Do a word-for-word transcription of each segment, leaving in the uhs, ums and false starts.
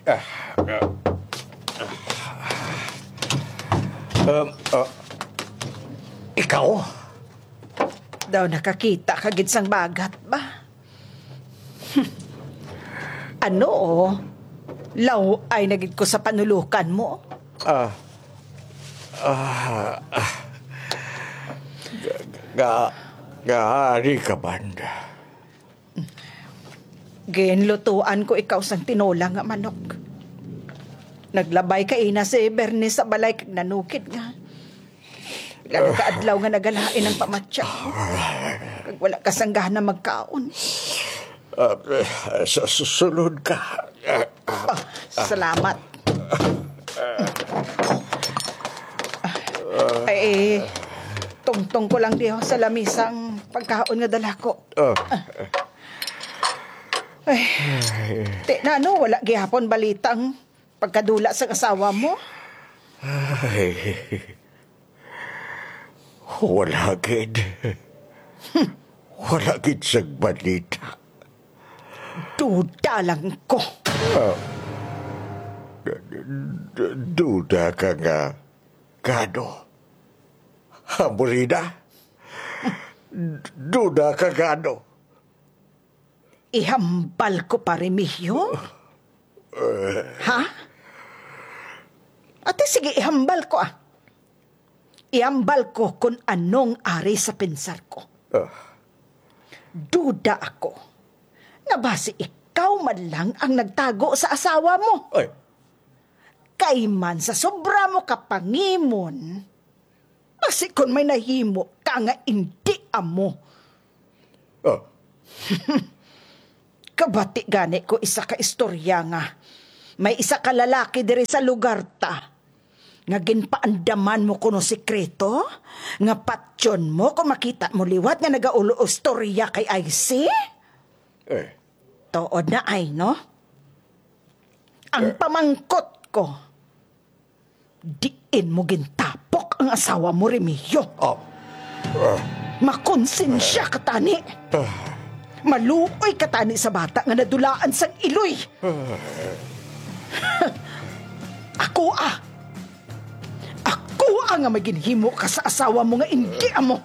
Ah, ah, ah. Um, ah, ikaw? Daw nakakita ka gid sang bagat ba? Ano? Law-ay na gid ko sa panulukan mo. Ah, ah, ah. Nga, nga, ari ka, Banda. Ginlutuan ko ikaw sang tinola nga manok. Naglabay ka ina si Bernice sa balay kag nanukid nga. Pila na ka adlaw nga nagalain ang pamatya mo. Kag wala ka sang gana magkaon. Ah, sa susunod ka. Ah, salamat. Ay, tungtong ko lang diho sa lamisa ang pagkaon nga dala ko. Ah. Ay, ti na, no, wala gihapon balitang pagkadula sang asawa mo? Ay, wala gid. Wala gid sang balita. Duda lang ko. Ah, d-, d-, duda ka nga gano? Hamburida? Duda ka gano? Ihambal ko pa, Remigio? Ha? Ate, sige, ihambal ko, ah. Ihambal ko kon anong ari sa pensar ko. Ah. Duda ako nga basi ikaw man lang ang nagtago sa asawa mo. Ay. Kay man sa sobra mo ka pangimon, basi kon may nahimo ka nga indi amo. Ah. Kabati gani ko isa ka istorya nga may isa ka lalaki diri sa lugar ta nga ginpaandaman mo kuno sikreto nga patyon mo kung makita mo liwat nga nagaulo og istorya kay I C? Eh. Tuod na ay, no? Ang pamangkot ko, diin mo gintapok ang asawa mo, Remigio? Ah. Ah. Makonsensya ka tani. Ah. Maluoy ka tani sa bata nga nadulaan sang iloy. Ah. Ako, ah. Ako, ah, nga may ginhimo ka sa asawa mo nga indi amo.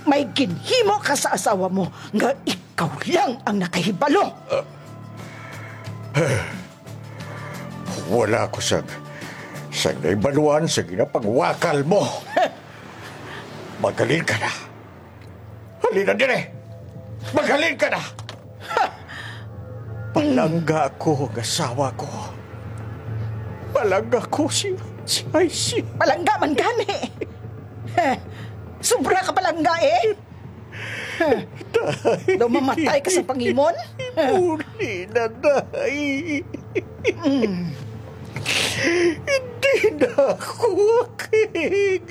May ginhimo ka sa asawa mo nga ikaw lang ang nakahibalo. Wala ko sang, sang nahibaluan sa ginapangwakal mo. Maghalin ka na. Halina diri. Maghalin ka na. Ha! Palangga ko ang asawa ko. Palangga ko si, si I C. Palangga man gani. Sobra ka palangga, eh. Tay. Daw mamatay ka sa pangimon? Uli na, Day. Mm. Hindi na ako akig.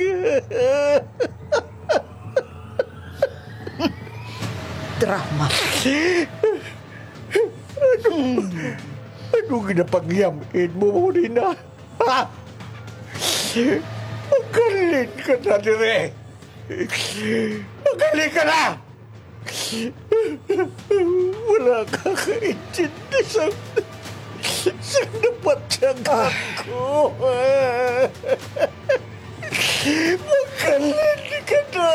Drama. Ano, ano ginapangyam-in mo, Rina? Ha? Magaling ka na dire. Magaling ka na! Wala ka kaintindi sa, sa napatyagan ko. Magaling ka na!